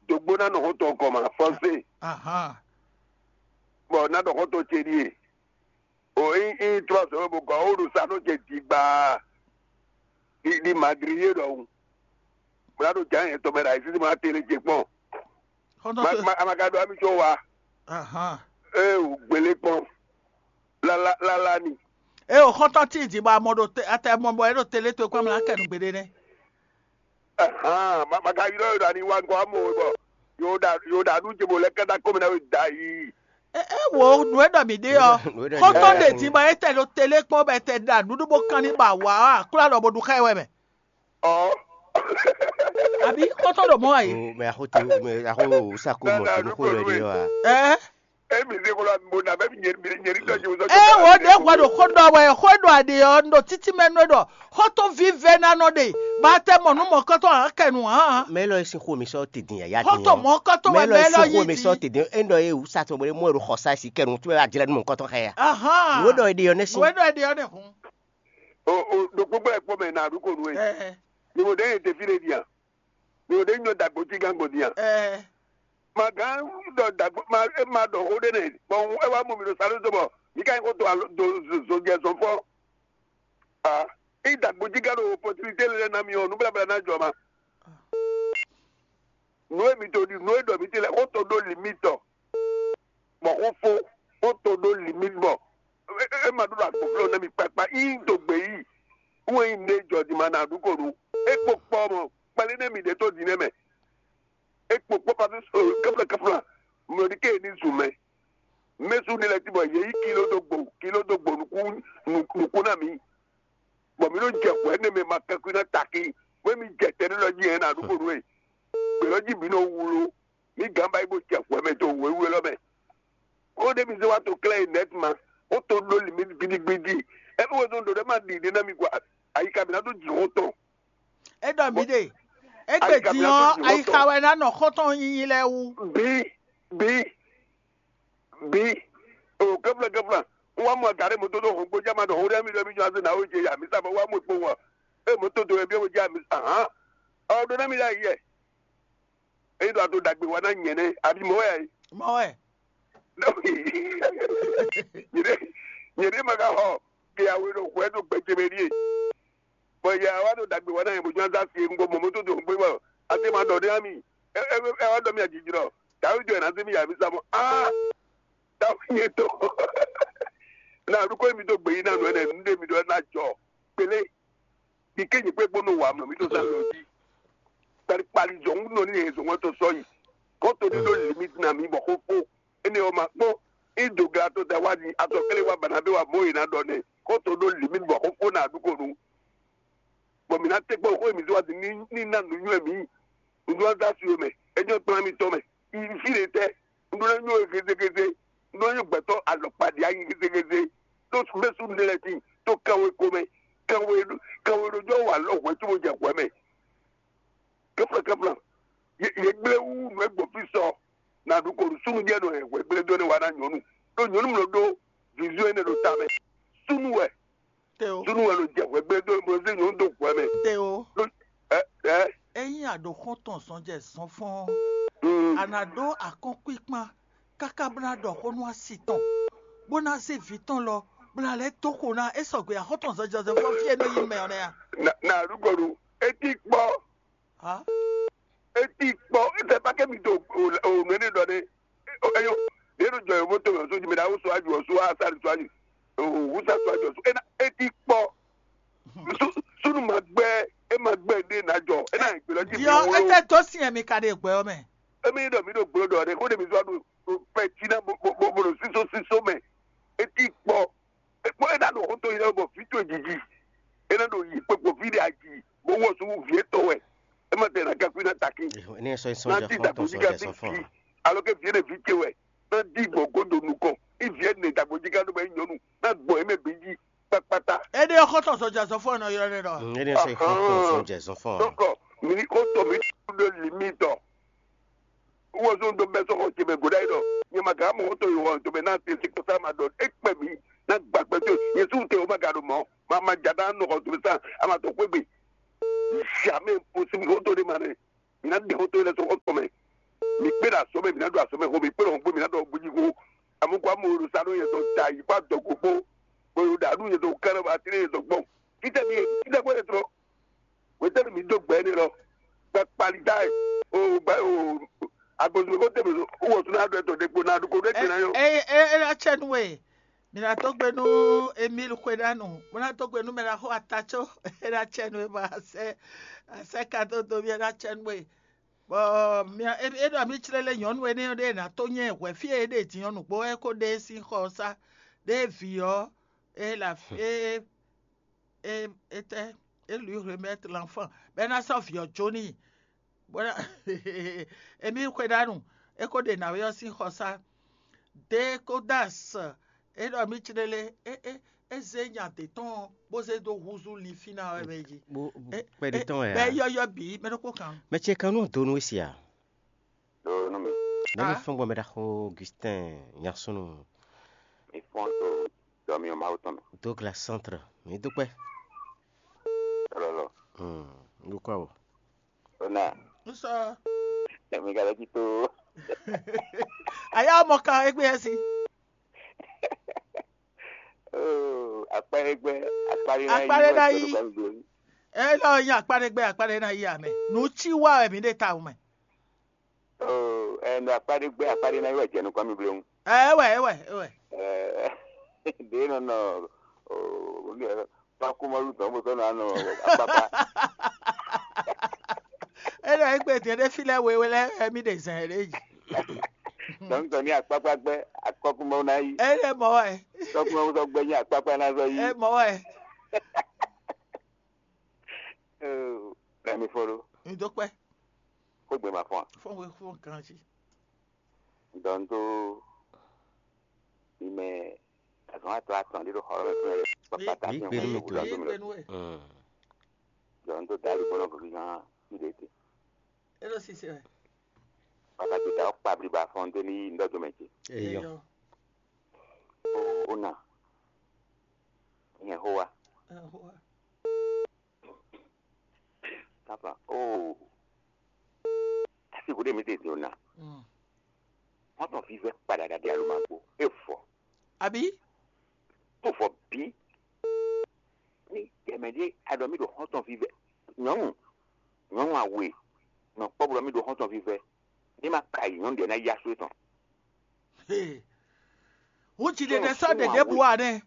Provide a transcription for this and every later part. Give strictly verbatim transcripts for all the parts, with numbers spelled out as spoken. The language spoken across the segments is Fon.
Dogbo ná nɔ xɔtɔn kɔ ma fɔnse. Bɔ ná ɖɔ xɔtɔn ce ɖie. O yi yi trɔ sɔ bo kɔ o ɖo sa nɔ ce digba. Di di madri ye ɖɔhun. Mo ná ɖo jǎ yɛn tɔmɛ ɖo ayisisi mo ná tele ce kpɔn. Xɔtɔn Ma- to ma- a ma ka ɖo ami tso wa. Ahan. Ee o gbélé kpɔn. Lala lala ni. E o xɔtɔn ti di bɔ amɔ ɖo te atɛ mɔ bɔ e ɖo tele to kpam la kɛ nu gbeɖe nɛ. Ahan, ma ma ka ylɔ yɔ ɖo ani wa ŋkɔ amɔ bɔ yo ɖa yo ɖa nu ce bo lɛ kɛta kɔmi na we da yi. E e wo nu e ɖɔ mi ɖe ɔ. Xɔtɔn ɖe di bɔ e tɛ ɖo tele kpɔn bɛ tɛ ɖa nuɖu bo kan ni ba wa a kúlɔ ɖɔ bo ɖu xɛ wɛ mɛ. Ɔ. Àbí xɔtɔn ɖo mɔ ayi. Mɛ axo te mɛ axo sako mɔ tunu xo lɔ ɖe wa. Ɛ. Emi se ko la mo na bɛ mi nyeri mi nyeri tɔ ji wuzɔ. E wo ɖe hwɛ ɖo xó ɖɔ wɛ xó ɖɔ aɖe ɔ ɖo títí mɛ nú ɖɔ xɔtɔn vive na nɔ ɖe ba tɛ mɔ nú mɔ kɔtɔ hã kɛ nu hã. Mɛ lɔ esi xo mi sɔ te din ya ya din. Xɔtɔn mɔ kɔtɔ wɛ mɛ lɔ esi xo mi sɔ te din e ɖɔ e wusa tɔ bɔ e mɔ e ɖo xɔ sa si kɛ nu tu bɛ a jlɛ nu mɔ kɔtɔ xɛ ya. Ahan. Wo ɖɔ e ɖe yɔ ne si. Wo ɖɔ e ɖe yɔ ne hun. O o ɖo gbogbo ɛ kpɔ mɛ na ɖu ko nu e. Ɛɛ. Ni mo ɖe ye te fi ɖe dia. Ni mo ɖe nyɔ dagbo ti gan gbɔ dia. Ɛɛ. Ma gán ɖɔ dagbo ma e ma ɖɔ xó ɖé nɛ bɔn ɛ wá mɔ mi ɖo sáré dó bɔ mi ka nyí xó to alo do zojɛ zɔn fɔ. A i dagbo jí gán ɖo opportunité lɛ na mi ɔ nubláblá ná jɔ ma. Nǔ e mi to ɖi nǔ e ɖɔ mi ti lɛ xó to ɖó limite ɔ. Bɔ xó fó xó to ɖó limite bɔ e ma ɖó ɖo agbǒnflɔ́ ná mi kpakpa í do gbě yi. Wɛn yi nɖe jɔ di ma na ɖu ko ɖu. E kpo kpɔ mɔ kpali nɛ mi ɖe to di nɛ mɛ. E kpo kpɔ pa kɛfla kɛfla mlɔdi ke ni zu mɛ. Mɛsu ni lɛ ti bɔ yě yi kilo dó gbo kilo dó gbo nukún nukún na mi. Bɔ mi ɖo jɛ hwɛ ne mɛ ma kɛkui na taki. Wɛ mi jɛ tɛ ne lɔ ji yɛn na ɖu ko ɖu e. Gbelɔ ji mi nɔ wlo. Mi gán ba yi bó jɛ hwɛ mɛ to wěwé lɔ mɛ. Xó ɖé mi zé wá to klɛ́ yi nɛt ma. Ó to ɖó li mi gbidigbidi. Ɛ bí wezɔn ɖo ɖé ma ɖi ɖé ná mi gwa. Ayika mi ná ɖó jǐ xó tɔn. É ɖɔ mǐ ɖe. Égbé din ɔ́, ayixa wɛ ná nɔ xɔ́ntɔn nyinyi lɛ́ɛ wú. Bí bí bí o kɛfla kɛfla. N wá mɔ agaɖé mɔtó ɖo hɔn gbójá ma ɖɔ hó ɖé mi ɖɔ mi jɔ azé na wé jɛ ya mi sa bɔ wá mɔ kpowun ɔ. É mɔtó do wɛ bí wé jɛ ami ahán. Ɔ ɖó ná mi ɖe ayi yɛ. Eyi ɖo ato ɖagbe wa ná nyɛ nɛ abi mɔ wɛ ayi. Mɔ wɛ. Nyɛ ɖe nyɛ ɖe ma ka xɔ ke awe ɖo hwɛ ɖo gbɛjɛ mɛ ɖie. Bɔ yɛ awa ɖo ɖagbe wa ná yɛ bó jɔn azá sie ŋgɔ mɔ mɔtó do ŋgbé bɔ ase ma ɖɔ ɖe ami. Ɛ ɛ ɛ wa ɖɔ mi ajijlɔ. Dawi jɔ yɛ ná se mi yà mi sa mɔ aa. Dawi nyɛ tɔ. Na ɖukɔ mi do gbe yi na nɔ ɛnɛ nu ɖe mi ɖɔ na jɔ. Kpele. Ike nyɛ kpe gbɔn nɔ wa mlɔ mi do sa lɔ ji. Kpali kpali zɔn nɔ ni yɛ zɔn wɛ to sɔ yi. Kɔ to ni ɖo limite na mi bɔ xo fo. Ene ɔ ma kpɔ. Ido gla to da wa ni atɔ kele wa bana be wa mo yi na ɖɔ nɛ. Kɔ to ɖo limite bɔ xo fo na ɖukɔ nu. Bɔ mi na te kpɔ xo mi do wa ni ni na nu nyɔ mi. Ŋdu wa da su mɛ. Enyɔ kplan mi tɔ mɛ. Ifi le tɛ. Ŋdu na nyɔ gezegeze. Ŋdu na nyɔ gbɛtɔ alɔkpa di ayi gezegeze. To bɛ su ne lɛ ti to kanwe ko mɛ. Kanwe kanwe ɖo jɔ wa lɔ hwɛ tso mo jɛ hwɛ mɛ. Kɛfla kɛfla. Ye ye gblé wu nù egbò fi sɔ. Na ɖu ko sunu jɛ nɔ hɛn hwɛ gblé do ne wa na nyɔnu. Ɖo nyɔnu mlɔ ɖo vizu ene ɖo ta mɛ. Sunu wɛ. Teo. Sunu wɛ lo jɛ hwɛ gblé do ne mo se nyɔnu do hwɛ mɛ. Teo. Ɖo ɛ ɛ. Eyin aɖo xɔntɔn zɔn jɛ zɔn fɔn. Mm. Ana ɖo akɔnkpikpan kaka bla ɖɔ xó nú asi tɔn. Bó ná zé vǐ tɔn lɔ bla lɛ́ dó xo ná é sɔgbe axɔ́tɔn zɔn jɛ zɔn fɔn fí e nɔ yi mɛ ɔ́ nɛ́ a. Na na ɖu ko ɖu. Eti kpɔ. Ha? Eti kpɔ. Ete pa ke mi to o o nene dɔ ne. Eyo. Ne do jɔ yovo to so jime da wo so aju so asari so aju. O wusa so aju so. Ena eti kpɔ. Su sunu ma gbɛ e ma gbɛ de na jɔ. Ena gbelɔ ji mi Diɔ wo. Ete to si mi ka de gbɛ ɔ mɛ. Emi dɔ mi do gblo dɔ de ko de mi so adu pɛti na bo bo bo bo siso siso mɛ. Eti kpɔ. Kpɔ́n é ná ɖo xó to yi lɛ́ɛ bɔ vǐ towe jiji. É ná ɖo yi kpekpo fí ɖé aji, bó wɔ sú vǐ étɔn wɛ. É ma tɛ ná gakú ná takín. Ní sɔ sɔ Ná jɛ dí xɔ́ntɔn dagbojí sɔ ká jɛ sí sɔ fún vǐ. Alɔ ké vǐ énɛ́ vǐ ce wɛ. Ná dí gbɔn gó ɖo nukɔn. Ní vǐ énɛ́ dagbojí ká ɖó bɛ nyɔnu. Ná gbɔn é mɛ bǐ jí kpákpátá. Éɖée ɔ́ xɔ́ntɔn sɔjɛ zɔfɔ́n nɔ ylɔ́ ɖé ɖɔ. Ní sɔ xɔ́ntɔn sɔ jɛ zɔfɔ́n. Dɔkɔ, mi ní xɔ́ntɔn mi ɖó limítɔ. Wozun dɔ bɛ sɔgɔ jɛmɛ goɖa yi dɔ nyɛma ga mɔ to yi wɔ to bɛ na te si kɔsa ma dɔ ekpɛ mi na gba kpɛ to yesu te o ma ga do mɔ ma ma jada nɔgɔ to sa ama to kpegbe jamais possible o to de ma ne. ná ɖe xó tó lɛ́ɛ sɔ́ xɔ́ntɔn mɛ. Mi kpé ɖo azɔ̌ mɛ, mi ná ɖo azɔ̌ mɛ xó, mi kpé ɖo xɔ́gbó, mi ná ɖɔ xɔ́gbó jí xó. Amɔ̌ kó amɔ ɖo sa ɖó nyɛ tɔn ta yi kpó adɔgo kpó, bó ɖo ɖa ɖu nyɛ tɔn ká ɖɔ ba tlé nyɛ tɔn gbɔn. Fítɛ́ mi fítɛ́ gbɔn yɛ tɔn. Wetɛ́nu mi dó gbɛ énɛ́ lɔ. Gbɛ kpali dá ɛ. O gbɛ o agbɔnzun ko tɛmɛ o wɔ tún náà dɔ ɛtɔ ɖe kpo náà ɖo ko ɖe gbɛ náà yɔ. Eye eye ena tsɛ nu e. Mi na dó gbe nú Emil Xweɖanu, bó ná dó gbe nú mɛ ná xo ata có ena tsɛ nu e bɔ asɛ asɛ ka dó do mi ena tsɛ nu e. Bɔ mi e ɖɔ mi clé lé nyɔ̌nu énɛ́ ɖé ná tó nyɛ hwɛ fí e ɖe din ɔ́ nǔgbó wɛ kó ɖe sín xɔ ɔ́ sá ɖé vǐ ɔ́ e la e e etɛ e lui remettre l'enfant bɛ ná sɔ́ vǐ ɔ́ jó n'i. Bó ná emi xwe ɖanu é kó ɖe nǎwe ɔ́ sín xɔsá. Dé kó dó asɔ é ɖɔ mí clélé é é é zé nya dě tɔn bó zé dó húzú linfín ná wɛ mɛ jí. Bó É- kpɛɖé é- tɔn wɛ Bɛ a? Yɔyɔ bǐ mɛ ɖokpó kan. Mɛ ce kan nú donu esi a? Ɖo nú mi. Nɛ́ mi Ah. Fɔ́n gbɔn mɛ ɖaxó Augustin Nyasúnú. Mi fɔ́n to dɔmyɔ Mawu tɔn mɛ. Douglas Centre, mi dúpẹ́. Lɔlɔ. Hmm, dúpẹ́ o. Ona. Nsɔ. Mi ka lɔ jí tó. Aya mɔ kan egbe esi. Oh, akpa egbe, akpa ɖe na yi. Akpa ɖe na yi. Elɔ nya akpa ɖe gbe akpa ɖe na yi ame. Nu ci wa wɛ mi ɖe ta mɛ. Oh, ɛ nɔ akpa ɖe gbe akpa ɖe na yi wɛ jɛ nukɔn mi blewu. Ɛ wɛ ɛ wɛ ɛ wɛ. Ɛ ɖe nɔ nɔ oh, tɔkuma lu tɔn bó tɔn nɔ anɔ akpakpa. Elɔ egbe diɛ ɖe fi lɛ wewe lɛ ɛ mi ɖe zɛn ɖe yi. Tɔn tɔn ni akpakpa gbɛ akɔkuma na yi. Ɛ lɛ mɔ wɛ. Tɔkuma sɔ gbɛ nyi akpakpa na sɔ yi. Ɛ mɔ wɛ. Ɛ mi fɔ ɖo. Mi dó kpɛ. Xwégbe ma fɔn. Fɔn we fɔn ganji. Dɔn tó ime azɔn atɔ atɔn ɖi ɖo xɔlɔ mɛ fún yɛ. Papa ta Bí fi gbé hɔn nú mi wúlɔ tó. Gbé nú ɛ. Dɔn tó dali gbɔdɔ kò fi hàn fi ɖe te. Elo sise wɛ. Papa ti da ɔkpa bliba fɔn tó ní ndɔ tó mɛ ce. Eyɔ. O o na. Nyɛ ho wa. Ɛ ho wa. Papa, oh, asi ko ɖe mi te do na. Mm. Wọn tɔn fi vɛ kpaɖaɖa ɖe alo ma gbó. E fɔ. Abi? Tó fɔ bí. Ní tɛmɛ ɖé aɖɔ mi ɖo xɔntɔn fi vɛ. Nyɔnu, nyɔnu awe, nɔ kpɔ bɔ mi ɖo xɔntɔn fi vɛ. Ní ma ka yi nyɔnu ɖe na ya so etɔn. Hey. Wú jiɖeɖe sɔ́ ɖeɖe bu wa nɛ.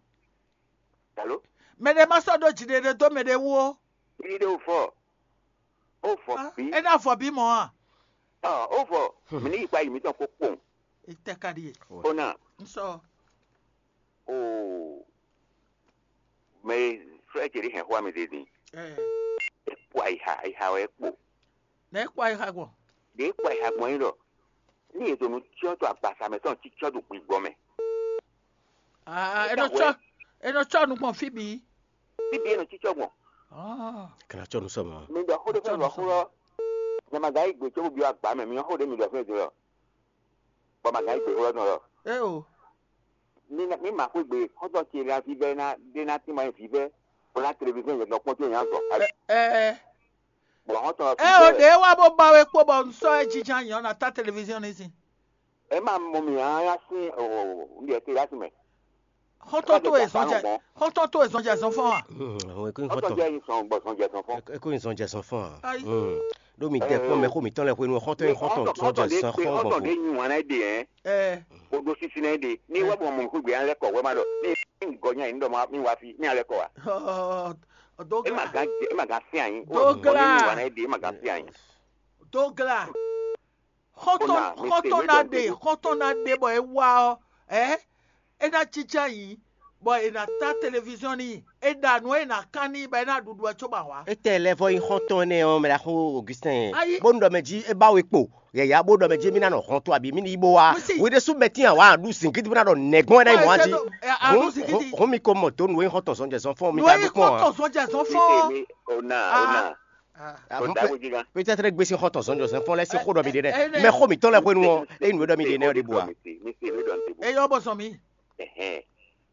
Alo? Mɛ ɖé ma sɔ́ ɖó jiɖeɖe dó mɛ ɖé wú ó. Jiɖeɖe ó fɔ. Ó fɔ Ah, bí. É ná fɔ bí mɔ̌ a? Ɔ, ó fɔ. Mi ní yi kpa yi mitɔn kó kpɔn. Etɛ ka ɖi e. Ó na. N sɔ. O. Mɛ frɛ ce ɖe hɛn xó mi ɖe din. Ɛ. É kpɔ ayixa, ayixa wɛ é kpo. Nɛ é kpɔ ayixa gbɔn. Ɖe é kpɔ ayixa gbɔn yín ɖɔ. Ní ètò nu tsyɔ́ tó agbasa mɛ tɔn tsyɔ́ ɖo gbigbɔ mɛ. Ah, é nɔ tsɔ é nɔ tsɔ nu gbɔn fí bǐ. Fí bǐ é nɔ tsyɔ́ gbɔn. Ah. Kana tsɔ nu sɔ mɔ. Mi ɖɔ xó ɖé fɛn lɔ xó lɔ. Nyɛ ma ga yí gbe cóbó byɔ́ agba mɛ, mi nyɔ́ xó ɖé mi ɖɔ fɛn din lɔ. Bɔ ma ga yí gbe xó lɔ tɔn lɔ. É o. Mi ma xwé gbe xɔ́ntɔn ce ná vívɛ́ ná ɖé ná tín ma nyí vívɛ́ bó ná televizɔ́n yě nɔ kpɔ́n tó nyá zɔ. Ɛ ɛ Bɔ xɔ́ntɔn ɛ o ɖě wá bó ba we kpó bɔ un sɔ́ ɛ jínjɔ́n ayǐ ɔ́ ná tá televiziɔn ní sin. Ɛ má mɔ mì á yá sín o un ɖe te yá sí mɛ. Xɔ́ntɔn tó e zɔn jɛ xɔ́ntɔn tó e zɔn jɛ zɔn fɔ́n a? Àwọn ẹ̀kọ́ Xɔ́ntɔn ìfọ̀tọ̀ jẹ́ yín sàn gbọ̀ sàn jẹ́ sàn fún. Ẹ̀kọ́ ìzọ̀n jẹ́ sàn fún wa. Ayi. Lómi dẹ́ kpɔ́n mɛ xó mìtɔn lɛ hwenu xɔ́ntɔn yín xɔ́ntɔn tó jẹ́ sàn xɔ́n gbɔn. Xɔ́ntɔn ɖé nyi wan náà ɖe yẹn. Ɛ O ɖo sísí náà ɖe ní wá bɔ mɔ xwé gbé alẹ́ kɔ wɛ má ɖɔ ní ní gɔ nya ní ɖɔ má ní wá fi ní alẹ́ kɔ wa. Ɔ É ma dógla gán jẹ é ma gán sí àyín. Dógla. Ní wá náà ɖe é ma gán sí àyín. Dógla. Xɔ́ntɔn Ó nà, mi xɔ́ntɔn se náà wé ɖɔ ɖe mi xɔ́ntɔn náà ɖe bɔ é wá ɔ ɛ é ná jínjɔ́n ayǐ bɔ è nǎ tá televiziɔn n'i, è ɖa nǔ e è nǎ kán n'i bɔ é ná ɖuɖu ɛ cóbɔ awǎ. Étɛ́ lɛ́ vɔ nyí xɔ́ntɔn énɛ́ ɔ́, mɛ ɖaxó Augustin? Ayi. Bónú ɖɔ mɛ jí é ba we kpo yɛ̌yá bó ɖɔ mɛ jí mí ná nɔ hɔn to abǐ mí ní yi bó wá. Mí sì. Wě ɖésú mɛ tín awǎ aɖu zǐngídi bó ná ɖɔ nɛ̌gbɔn é ná yi mɔ̌ jí. Wɛ é sɛ́ ɖó, ɛ, aɖu zǐngídi. Hǔn mi ko mɔ dǒ nǔ e nyí xɔ́ntɔn zɔnjɛzɔnfɔ́n mi Nǔ ka e nyí gbékpɔ́n ǎ. Xɔ́ntɔn zɔnjɛzɔnfɔ́n. Ona ona. Ah. Ó dá wéjì gán. Pétɛ́trɛ́ gbé sín xɔ́ntɔn zɔnjɛzɔnfɔ́n lɛ́ sín xó ɖɔ mi ɖe nɛ́. Ɛ, ɛ, mɛ xó mǐtɔn lɛ́ hwenu ɔ́, é nǔ e ɖɔ mi ɖe nɛ́ ɔ́ ɖěbǔ ǎ. Mi se mi ɖɔ mi se. Eyɔ bɔ zɔn mi. Ɛhɛn.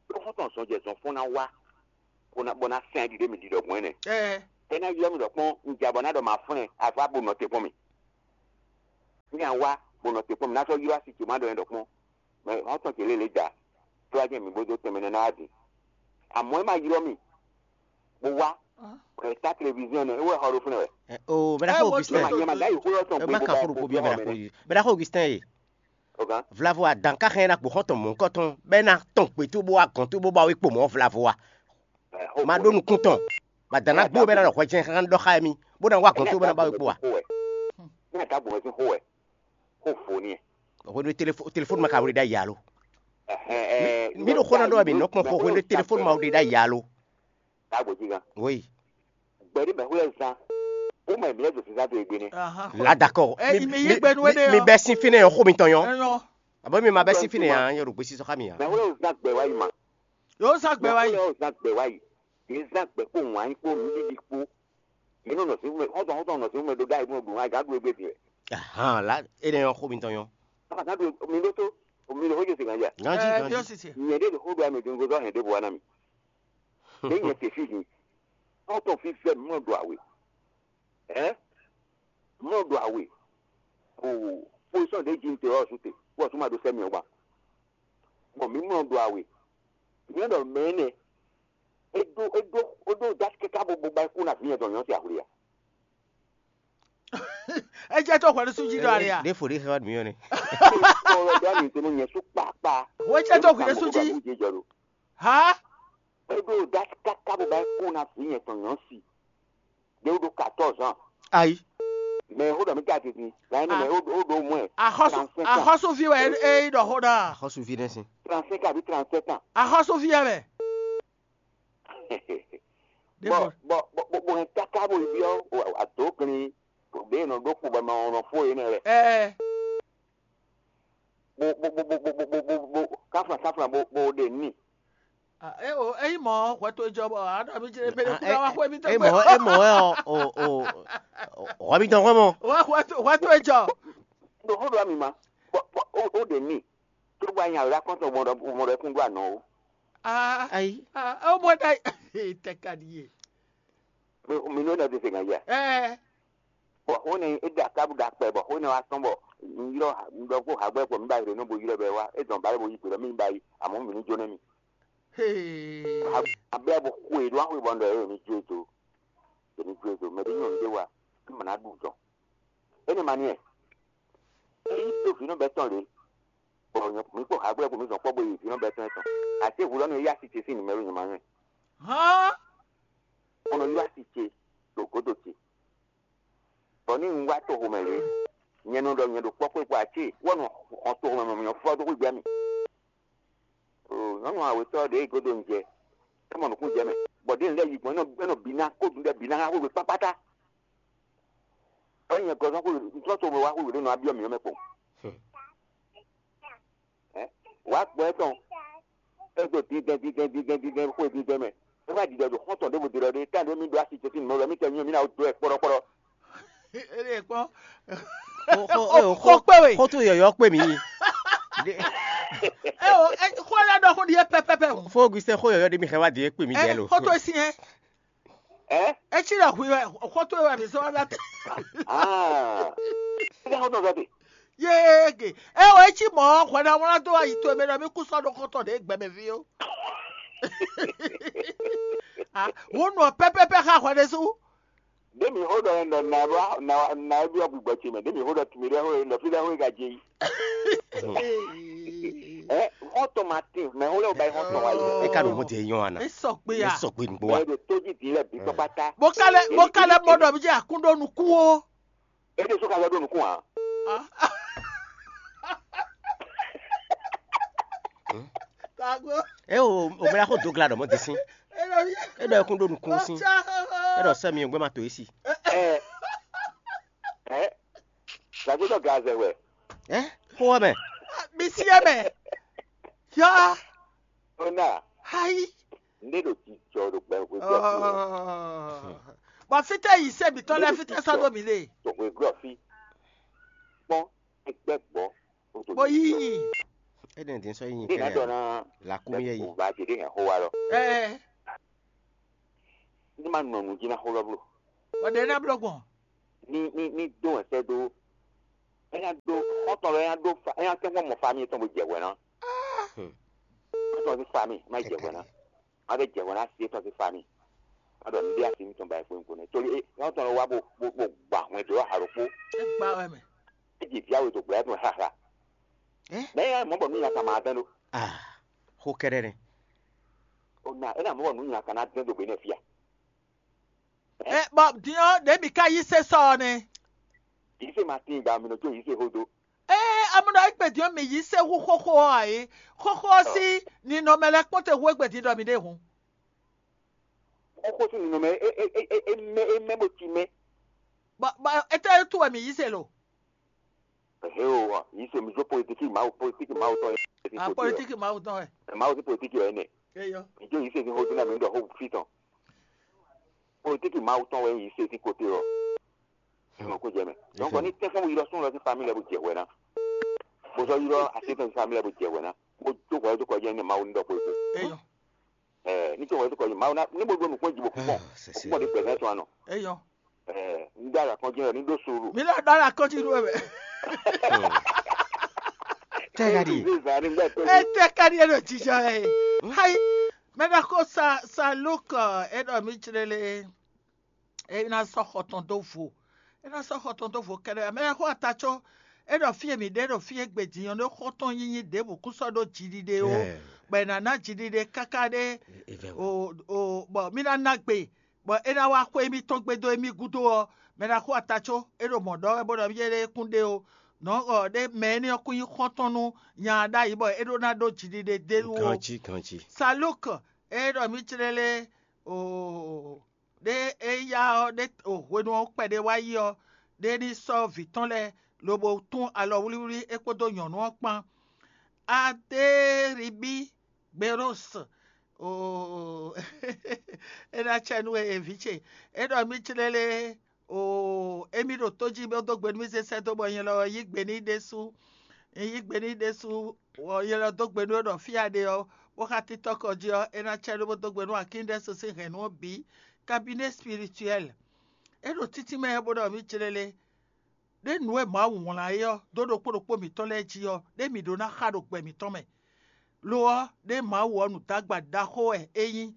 Ɖó xɔ́ntɔn zɔnjɛzɔnfɔ́n ná wá bó ná bó ná sɛn ɖiɖe mi ɖiɖɔ gbɔn ɛnɛ. Ɛ. É ná ylɔ́ mi ɖɔ kpɔ́n un ja bɔ ná ɖɔ ma flɛn avá bo nɔ te kpɔ́n mi. Nya wá bó nɔ te kpɔ́n mi ná sɔ́ ylɔ́ asi ce má ɖɔ ɛ ɖɔ kpɔ́n. Mɛ hɔn tɔn ce lélẹ̀ jà. Tó wá jẹ́ mi bó dó tɛnmɛ nɛ́ ná wá din. Àmọ́ ɛ má ylɔ́ mi bó wá. Ɛ tá téléviziɔn nɛ é wɛ xɔ ɖó fúnɛ wɛ. O bɛɖa xɔ Augustin. Ɛ ma nyɛ ma dá yìí xó yɔ tɔn gbé bó bá kó bó bí ɔmɛ nɛ. Bɛɖa xɔ Augustin ye. Ogan. Vlavo adan ka xɛn na kpó xɔn tɔn mɔ̌ kɔtɔn bɛ na tɔn gbé tó bó wá gɔn tó bó ba wé kpo mɔ̌ vlavo wa. Ma ɖó nukún tɔn. Ba dan na gbó bɛ na ɖɔ hwɛ jɛn xan ɖɔ xa mi bó na wá gɔn tó bɛ na ba wé kpo wa. Ní àtàgbò wọn ti hó wɛ. Kó fò ní ɛ. Hwenu e telefo- telefoni ma ka wuli ɖ'ayǐ alo. Ɛhɛn, ɛɛ, Mi ɖo xó ná ɖɔ mi nɔ kpɔn xó hwenu e telefoni ma wuli ɖ'ayǐ alo. Tágbó jí gan. Oui. Gbɛɖí mɛ xwlɛ zan. Ó mɛ mi lɛ do sísá do egbe nɛ. Aha. La d'accord. Ɛ, Mi- ime mi- yí gbɛnu mi- énɛ́ Mi ɔ. Bɛ sín fínɛ́ ɔ xó mi tɔn yɔ. Ɛnɔ. Abo mi ma bɛ sín fínɛ́ ya yɔ ɖo gbésí sɔxa mi ya. Mɛ xwlɛ zan gbɛ wá yi ma. Yóò sá gbɛ wá yìí. Mɛ xwlɛ zan gbɛ wá yi. Yé zan gbɛ kpó wǎn kpó nǔɖiɖi kpó. Yé nɔ nɔ sí mɛ xɔtɔn xɔtɔn nɔ sí mɛ ɖó ɖá yìí nɔ ɖo wá gǎ ɖu égbé din. Ahan la. Énɛ́ ɔ xó mi tɔn yɔ. Aba gǎ ɖu mi ɖó tó. Mi ɖo xójú sèkàn jà. Ganji Ɛ ganji. Yóò sì tiẹ̀. Nyɛ ɖé ɖo xó ɖo amɛ dín gozɔ hɛn ɖé bo wá ná mi. Ɖé nyɛ te fí din. Xɔtɔn fí fɛ mi mɔ ɖo awe. Ɛ mɔ ɖo awe. O position ɖé jí mi te ɔ su te. Wɔ su ma ɖo sɛ mi ɔ gba. Bɔn mi mɔ ɖo awe. Nyɛ ɖɔ mɛ nɛ. Eɖo eɖo eɖo dasi kɛkɛ abo bo ba kú na vi nyɛ dɔn nyɔ si ahwli ya. Ɛ jẹ́ tó hwɛɖú sú jí ɖɔ ali a? Ɖé fo ɖé xɛ wá dùn yɔ nɛ. Kɔlɔ dɔ mi tenu nyɛ sú kpakpa. Wọ́n jẹ́ tó hwɛɖú sú jí. Jɛ jɔ do. Ha? Eɖo dasi kɛkɛ abo ba kú na vi nyɛ dɔn nyɔ si. Ɖé wo ɖo quatorze ans. Ayi. Mɛ xó ɖɔ mi ka titi. Lan ne mɛ xó ɖo mɔ ɛ. Axɔsu axɔsuvi wɛ e yi ɖɔ xó ɖa. Axɔsuvi ɖe si. Trente-cinq abi trente-sept ans. Axɔsuvi yɛ mɛ. Bɔ bɔ bɔ bɔ bɔ hɛn kaka bo yi biɔ ato kli ɖe nɔ ɖo kpo bɔ ma nɔ fo yé nɛ lɛ. Ɛɛ. Bo bo bo bo bo bo bo bo bo kafla kafla bo bo ɖe ni. Ah, e o eyi mɔ hwɛ to jɔ bɔ a ɖɔ mi jɛ mɛ ɖe kú na wa xwe mi tɔ E mɔ e mɔ ɛ o o o hɔ mi tɔn hɔ mɔ. Hwɛ to hwɛ to jɔ. Ɖo xó ɖo ami ma. Bɔ bɔ o o ɖe ni. Tó gba nya wla kɔntɔn mɔ ɖɔ mɔ ɖɔ kún ɖo anɔ o. Ah, Ayi. Ah, o mɔ da tɛ ka di ye. Mi nɔ da de se ŋa ya. Eh. Bɔ xó ne e da kabu da kpɛ bɔ xó ne wa tɔn bɔ n ylɔ n ɖɔ ko hagbɛ kpɔ mi ba yrɛ nɔ bo yrɛ bɛ wa e dɔn ba bo yi gbe mi ba yi amɔ mi ni jo ne mi. Hey. Abla bo xwe do axwe bɔ n ɖɔ e mi jo to. E mi jo to mɛ de nyɔ n de wa. N mana ɖu dɔn. Ene ma ni ɛ. Eyi to vǐ nɔ bɛ tɔn lě, bɔ mi kpɔ hagbɛ ko mi zɔn kpɔ bo yi vǐ nɔ bɛ tɔn tɔn. Ate hu lɔ nɔ yá si ce sín numero nyɛ ma nyɛ. Hán. Bɔ nɔ yá si ce ɖo godo ce. Bɔ ní un wá to xomɛ lě, nyɛ nɔ ɖɔ nyɛ ɖo kpɔkpɔ́ kpɔ ate wɔ nɔ xɔ to xomɛ mɛ nyɔ fɔ dó xwé gbɛ mi. Nyɔnu awetɔ ɖe godo un jɛ. É mɔ nukún jɛ mɛ. Bɔ ɖe lɛ yi gbɔn é nɔ bi ná kó dun ɖɛ bi ná xá xwé kpákpátá. Ɔ nyɛ gɔzɔn xwe ntɔ to wá xwe ɖo nɔ abiɔ miyɔ mɛ kpɔn. Wá gbɔ etɔn. Edo dindɛn dindɛn dindɛn dindɛn xwe dindɛn mɛ. E wá didɔ do xɔntɔn ɖe bo didɔ ɖe tan ɖe mi ɖo asi tɛsin mɛ wɛ mi tɛ nyɔ mi na do ɛ kpɔɖɔ kpɔɖɔ. Ele kpɔ. Xo kpe we. Xo to yɔyɔ kpe mi. Eo, xo la ɖɔ xo ɖi yɛ pɛpɛpɛ o. Fo Augustin xo yɔyɔ ɖe mi xɛ wá di yɛ kpe mi jɛ lo. Xo to si yɛ. Ɛ? Etsi ɖe hu wɛ xɔtɔn wɛ mi sɔ la te. Ah. Ɛ xɔtɔn sɔ te. Yéege. Ɛ o etsi mɔ hwɛɖawla dó ayi to eme ɖɔ mi kú sɔ ɖo xɔtɔn ɖe gbɛmɛ vi o. Ah, wo nɔ pɛpɛpɛ xa hwɛ ɖe su. Ɖe mi xo ɖɔ nɔ na ɖo na na ɖo agbègbè tsi mɛ. Ɖe mi xo ɖɔ tumi ɖe xo nɔ fi ɖe xo ga dzi. Ɛ xɔtɔn ma tin mɛ xo lɛ o ba yi xɔtɔn wa yi. E ka ɖo mɔ te nyɔ ana. E sɔ gbe E ya. Sɔ gbe nugbo wa. Mɛ ɖo to dzi di lɛ bi tɔ kpata. Mo ka lɛ mo ka lɛ mɔ ɖɔ mi dzi akun ɖo nukun o. E ɖe so ka lɛ ɖo nukun a. Ah. Tago. E o o bla xo dogla ɖɔ mɔ te sin. E ɖɔ mi. E ɖɔ ekun ɖo nukun sin. Ɔtsa. E ɖɔ sɛ mi gbɛ ma to esi. Ɛ ɛ. Zagbetɔ gazɛ wɛ. Ɛ xo wɛ mɛ. Mi si yɛ mɛ. Ya. Ona. Hayi. Ne ɖo jijɔ ɖo gbɛ hwe jɔ. Bɔ fitɛ yi se mitɔ lɛ fitɛ sɔ do mi le. To hwe glɔ fi. Kpɔn egbɛ gbɔ. Bo yi yi. E ɖe din sɔ yi Ní ìdájọ́ kɛlɛ. Náà La kumi yɛ yi. Bɛ̀kú bá jẹ dé hɛn xó wa lɔ. Ɛ. Ní ma nɔ nù jí ná xó lɔ bló. Ɔdɛ ná blɔ gbɔn. Ní ní ní dó ẹsẹ̀ dó. É ná ɖó xɔ́ntɔn lɔ, é ná ɖó fa, é ná tɛ́nkpɔ́n mɔ famille tɔn bó jɛ hwɛ ná. Xɔ́ntɔn sín famille má jɛ hwɛ ná. Má bɛ jɛ hwɛ ná sí étɔn sín famille. Má ɖɔ nǔɖé asi nítɔn ba e xwé nukɔn nɛ́. Tóli é xɔ́ntɔn lɔ wá bó bó bó gba hwɛndo lɔ halo kpó. É gba wɛ mɛ. É ji vǐ awe to gbla tɔn haha. Mɛ é mɔ bɔ nú nya ka ma dɛn ɖó. Ah, xó kɛ́ɖɛ́ nɛ́. O na é na mɔ bɔ nú nya ka ná dɛn ɖo gbě nɛ fia. Ɛ bɔ din ɔ́, ɖě mǐ ka yí sésɔ ɔ́ nɛ́. Yìí se ma tín gba mi nɔ jó yìí se xó dó. Ee, amúnɔ égbè din ɔ́, mǐ yí sé hú xóxó ɔ́ ǎ é. Xóxó ɔ́ sín ninɔmɛ lɛ́ɛ kpɔ́n te hú égbè din ɖɔ mǐ ɖe hǔn. Xóxó sín ninɔmɛ é é é é mɛ é mɛ bó cí mɛ. Bɔ bɔ étɛ́ tú wɛ mǐ yí se lo? Hé o, yìí se mi jó politiki Mawu, politiki Mawu tɔn yɛ. A politiki Mawu tɔn wɛ. Mawu sín politiki wɛ nɛ. Eyɔ. Mi jó yìí se sín xó dín náà mi ɖɔ xó fí tɔn. Politiki Mawu tɔn wɛ yìí se sín kote ɔ. Nɔ kó jɛ mɛ. Donc ní tɛ́fɔ́n yirɔ sún lɔ sín famille lɛ bó jɛ hwɛ ná. Bó zɔ yirɔ asétɔn sín famille lɛ bó jɛ hwɛ ná. Bó jó hwɛ dó kɔ jɛ ní Mawu ní ɖɔ politiki. Eyɔ. Ɛɛ ní tó hwɛ dó kɔ jɛ Mawu ná ní bó ɖó nukún jibó kúkpɔn. Kúkpɔn ɖé gbɛzɛn tɔn anɔ. Eyɔ. Ɛɛ ní dá la kɔn jɛ ní ɖó suru. Mi lɔ dá la kɔn jɛ ní wɛ. Tɛ ka di. Ete kadi e ɖo jijɔ ɛ. Hayi, mɛ ɖɔ ko sa sa Luke e ɖɔ mi jlele. E ná sɔ́ xɔ tɔn dó vo. E ná sɔ́ xɔ tɔn dó vo kɛɖɛ. Mɛ xo ata có. E ɖɔ fí e mǐ ɖe ɖo fí e gbe din ɔ́ ɖó xɔ tɔn nyinyi ɖěbǔ kún sɔ́ ɖó jiɖiɖe ó. Bɔ è nǎ ná jiɖiɖe káká ɖé. O o bɔ mí ná ná gbe. Bɔ é ná wá xwé émítɔn gbe dó émí gúdo ɔ́, mɛ ná xo ata có é ɖo mɔ̌ ɖɔ wɛ bó ɖɔ émí ɖe kún ɖe ó. Nɔ̌ ɔ ɖé mɛ énɛ́ ɔ́ kún nyí xɔ́ntɔn nú nya ɖ'ayǐ bɔ é ɖó ná ɖó jiɖiɖe d'é wú ó. Ganjí, ganjí. Saluk e ɖɔ mǐ jlélé o ɖé é yá ɔ́ ɖé o hwenu ɔ́ kpɛɖé wá yi ɔ́, ɖé ní sɔ́ vǐ tɔn lɛ́ɛ lobo tún alɔwlíwlí é kpódó nyɔ̌nu ɔ́ kpán. Adéríbí Gberósi, oo, é ná cɛ nú we, vǐ ce. É ɖɔ mì jlélé, oo, émí ɖo tó jí bó dó gbe nú mì zé sɛ́ dó bɔ nyɛ lɔ yí gbe n'i ɖésú. Un yí gbe n'i ɖésú, bɔ nyɛ lɔ dó gbe nú we ɖɔ fí a ɖe ɔ́, bó xá títɔ́ kɔ jí ɔ́, é ná cɛ ɖó bó dó gbe nú akíndɛ́sú sín hɛ̌nnu ɔ́ bǐ. Kabinɛ́ spirituɛ́l. É ɖo títí mɛ bó ɖɔ mì jlélé. Ɖé nǔ e Mawu wlán é ɔ́ dó ɖokpó ɖokpó mǐtɔn lɛ́ɛ jí ɔ́, ɖé mǐ ɖó ná xa ɖo gbɛ mǐtɔn mɛ. Lo ɔ́, ɖé Mawu ɔ́ nǔdágba ɖaxó wɛ é nyí.